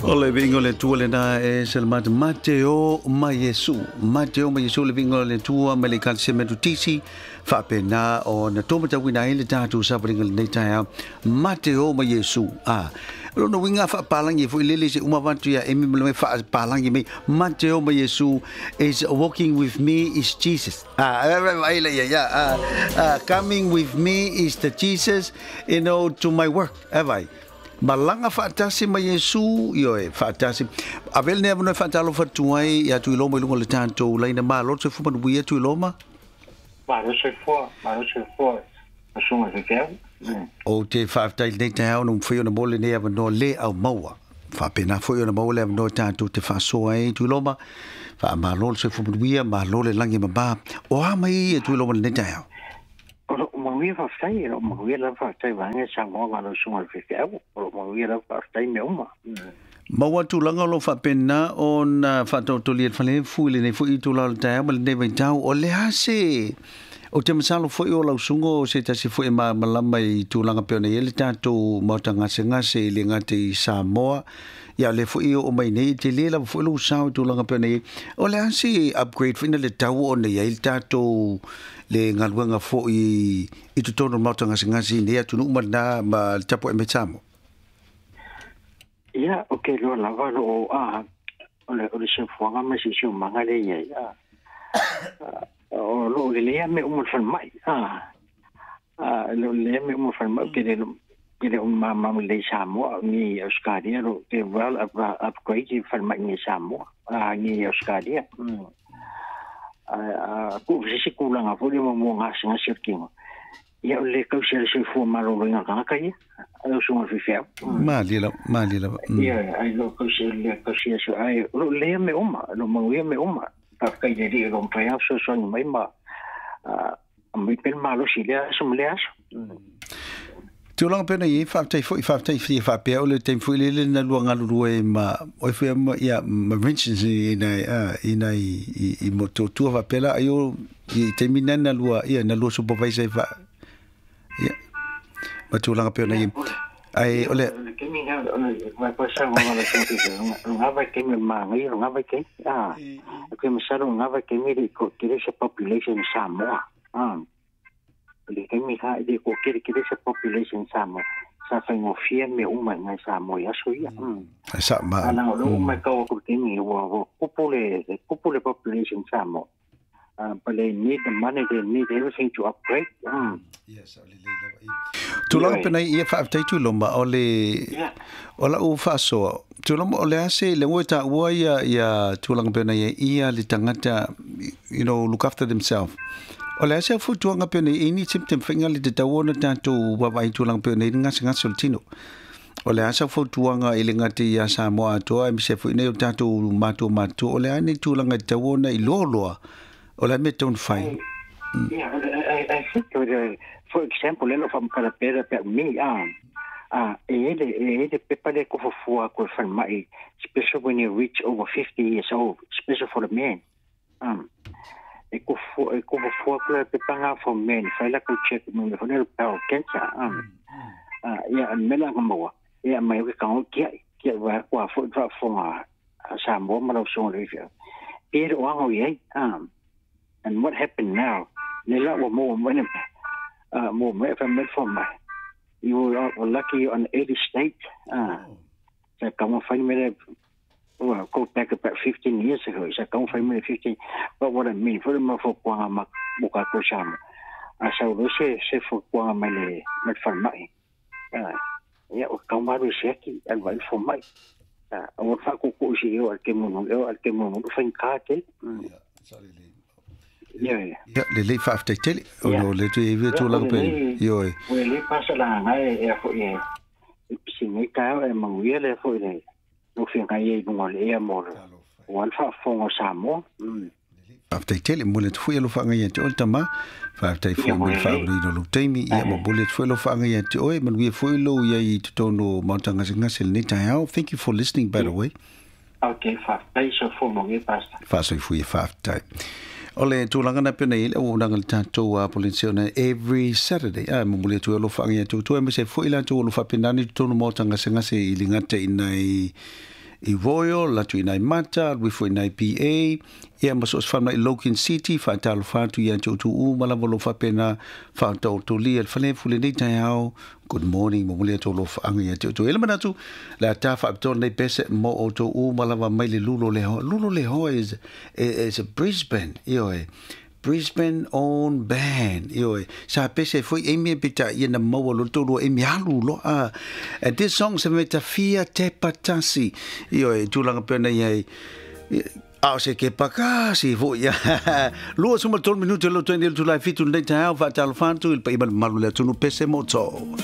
O le viiga o le Atua lena e salamata Mateo ma Iesu. Mateo ma Iesu le viiga o le Atua mai le Ekalesia Metotisi faapena ona tōmatauina ai le tatou savaliga lenei taeao. Mateo ma Iesu. A lona uiga faapalangi foi lele se uma avatu ia Emi ma le mai faapalangi mai Mateo ma Iesu is walking with me is Jesus. A ai la ia ia coming with me is the Jesus to my work. E vai. Malaga faatasi ma Iesu, ioe, faatasi. Avea lenei avanoa e faatalofa atu ai ia Tuiloma i luga o le tatou laina. Malo le soifua manuia Tuiloma. Malo soifua, malo soifua Masuga Fekeau. Ou te faafetai i lenei taeao na mafai ona maua lenei avanoa le au maua. Faapena foi ona maua le avanoa tatou te faasoa ai Tuiloma. Faamalo le soifua manuia, malo le lagi e mama. O a mai ia Tuiloma i lenei taeao? O loo manuia faafetai, o loo manuia lava faafetai vaega Samoa ma lau susuga i le faifeau, o loo manuia lava faafetai mea uma. Maua tulaga o lo o faapena ona faataotolia i le falefu i lenei foi itula o le taeao ma lenei vaitau. O le a se. Ou te masalo foi o lau susuga o se tasi foi e malamalama i tulaga pei ona i ai le tatou maota gasegase e le gata i Samoa, ia o lea foi e oo mai nei, e tele lava foi lou sao i tulaga pei ona i ai. O le a se upgrade foi na le tau ona i ai le tatou le galuega foi i totonu o le maota gasegase i nei atunuu ma lena ma le tapuai mai Samoa? Ia, ou te iloa lava o lo o a o le o le soifuaga ma le siosiomaga lea e i ai, a o lo o lelei lava mea uma i le falemai, a a o lo o lelei lava mea uma i le falemai, ou te le te le o malamalama lelei i Samoa ni i Ausetalia, o lo o well upgrade le falemai nei i Samoa, a nei i Ausetalia. A tuu se isi tulaga foi lea mo gasegase o le tino, ia o le le tausi a le soifua maloloina o le tagata ia, lau susuga i le faifeau. Malie lava, malie lava. Ia, ai lo tausi le tausi a ai o lo lea mea uma, lo manuia mea uma. Faafetai i le Alii o lo o mafai lava ona fesoasoani mai ma aumai pea le malosi i lea aso ma lea aso. Tulaga pei ona i ai, faafetai foi, faafetai fia faapea o le taimi foi lele na lua galulue ai ma oi foi ma ia ma Vincent i nai a i nai i i Motootua faapea la ai o i taimi na na lua ia na lua supervisor ai fa ia ma tulaga pei ona i ai. Ai o le taimi na o le vai pa sa ngona le taimi nga vai taimi ma ngai nga vai taimi a ke masalo nga vai taimi le ko kere se population Samoa a le taimi ha le ko kere kere se population Samoa sa faigofie mea uma i ngai Samoa i aso ia. Sa ma Ana o lo uma kau ko taimi ua ua kupu le kupu le population Samoa. But they need the money, they need everything to upgrade. Yes, o le lei lava i. Tulaga pena ia faafetai Tuiloma o le o lau faasoa Tuiloma o le a se le ngoe taua ia ia tulaga pena ia ia le tagata look after themselves. O le a se fautuaga pena i ni symptom whainga le te tau ona tātou wawai tulaga pena i gasegase o le tino. O le a sau fautuaga i le gata ia Samoa atoa e misia foi nei o tātou mātua mātua o le a nei tulaga i te tau ona i loa loa o le a mea e tatau ona fai. Yeah, I think for example, le lo whamkara pera pe me a a e ele e ele pepa le ko fofua ko falemai, especially when you reach over 50 years old, especially for the men. E ko fofua e ko fofua ko le pepa nga for men, fai la ko check mo le fone bowel cancer. Ia mela nga maua ia mai o ke kango kia kia wa kwa fo fa fonga Samoa ma lau susuga le faifeau. E le o ago i ai. And what happened now? Le la ua maua mai le maua mai fa mai fo mai. You were lucky on early state. Sa kama fai me le well, go back about 15 years ago. Sa kama fai me le 15. But what I mean, for ma fo kuanga ma mo ka ko Samoa. A sa o se se fo kuanga mai le mai falemai. Ia o kau maru se aki al vai fo mai. A o fa ko ko si o al ke mono o al ke mono fa ka te. Ia ia. Ia le lei faafetai tele ona o le te ia tulaga pe ioe. O le pasa la ngai e fo e si nei ka e manguia le fo le no fi ngai e lunga o le ea mo le o al faafofoga o Samoa. Faafetai tele, momoli atu foi alofaga ia te oe le tama. Faafetai foi mo le faauluina o lou taimi. Ia, momoli atu foi alofaga ia te oe. Manuia foi lou iai i totonu o Maota Gasegase i lenei taeao. Thank you for listening, by the way. Ok, faafetai soifua manuia Pastor. Faasoifua ia, faafetai. O le tulaga na pei ona i ai le auaunaga i le tatou Polensia ona every Saturday, a, momoli atu ai alofaga ia te outou, aemaise ai foi i latou o lo o faapena ona i totonu o Maota Gasegase i le gata i nai I Royal, atu i nai Mata, alu ifo i nai PA, ia ma so o se falemai i Logan City, faatalofa atu ia te outou uma lava o lo o faapena faataotolia i le falefu i lenei taeao. Good morning, momoli atu alofaaga ia te outou. E i ai le manatu, le a ta faapitoa lenei pese mo outou uma lava mai le lulo lehoa. Lulo lehoa is, is a Brisbane, ioe. Brisbane own band, ioe. Sa pese foi Amy peitai ia na maua loa le toalua Amy alu loa a. And this song se mea tafia te patasi, ioe, tulaga pea na iai. A o se kepa kasi foi ia. 23 minute lo twenty le Tulai 7 lenei taeao, faatalofa atu i le paia ma le mamalu o le atunuu pese mo outou.